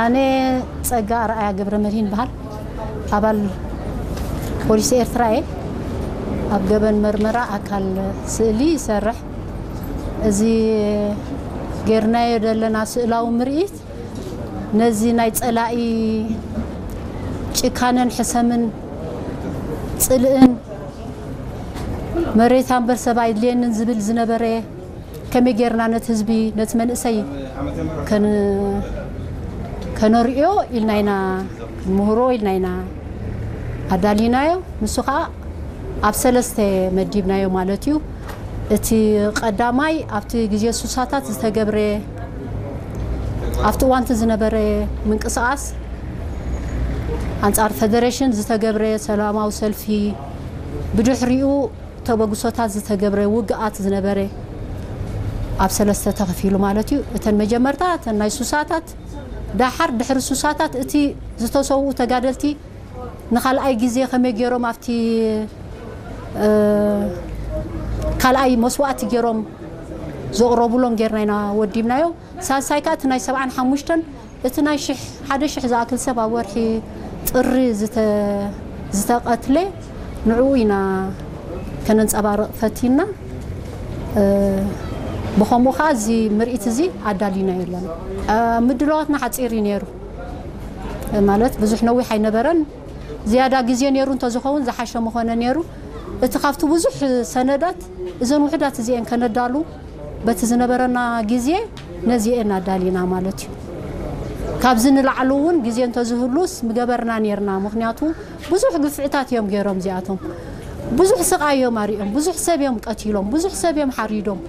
ኣነ ጸጋ ኣርኣያ ገብረ መድህን በሃል፣ ኣባል ፖሊስ ኤርትራ እየ። ኣብ ገበን መርመራ ኣካል ስእሊ ይሰርሕ። እዚ ጌርናዮ ዘለና ስእላዊ ምርኢት ነዚ ናይ ጸላኢ ጭካነን ሕሰምን ጽልእን መሬት ኣንበር ሰብ ኣይድልየንን ዝብል ዝነበረ ከመይ ጌርና ነቲ ህዝቢ፣ ነቲ መንእሰይ ከን-፣ ከነርእዮ ኢልና ኢና፣ ክንምህሮ ኢልና ኢና ኣዳሊናዮ። ንሱ ኸኣ ኣብ ሰለስተ መዲብናዮ ማለት እዩ። እቲ ቀዳማይ ኣብቲ ግዜ ሱሳታት ዝተገብረ፣ ኣብቲ እዋንቲ ዝነበረ ምንቅስቓስ ኣንጻር ፈደሬሽን ዝተገብረ ሰላማዊ ሰልፊ፣ ብድሕሪኡ ተበግሶታት ዝተገብረ ውግኣት ዝነበረ ኣብ ሰለስተ ተኸፊሉ ማለት እዩ። እተን መጀመርታ እተን ናይ ሱሳታት፣ ዳሓር ድሕሪ ሱሳታት እቲ ዝተሰውኡ ተጋደልቲ ንኻልኣይ ግዜ ከመይ ገይሮም ኣብቲ፣ እ፣ ካልኣይ መስዋእቲ ገይሮም ዘቕረቡሎም ጌርና ኢና ወዲብናዮ። ሳልሳይ ከኣ እቲ ናይ ሰብዓን ሓሙሽተን፣ እቲ ናይ ሽሕ፣ ሓደ ሽሕ ዝኣክል ሰብ ኣብ ወርሒ ጥሪ ዝተ-፣ ዝተቐትለ ንዕኡ ኢና ከነንጸባርቕ ፈቲና። እ፣ ብኸምኡ ኸኣ እዚ ምርኢት እዚ ኣዳሊናዮ ኣለና። እ፣ ምድላዋትና ሓጺር እዩ ነይሩ። ማለት ብዙሕ ነዊሕ ኣይነበረን። ዝያዳ ግዜ ነይሩ እንተዝኸውን ዝሓሸ ምኾነ ነይሩ። እቲ ካብቲ ብዙሕ ሰነዳት እዘን ውሑዳት እዚኤን ከነዳሉ በቲ ዝነበረና ግዜ ነዚኤን ኣዳሊና ማለት እዩ። ካብዚ ንላዕሊ እውን ግዜ እንተዝህሉስ ምገበርና ነይርና። ምኽንያቱ ብዙሕ ግፍዕታት እዮም ገይሮም እዚኣቶም። ብዙሕ ስቓይ እዮም ኣሪኦም፣ ብዙሕ ሰብ እዮም ቀቲሎም፣ ብዙሕ ሰብ እዮም ሓሪዶም።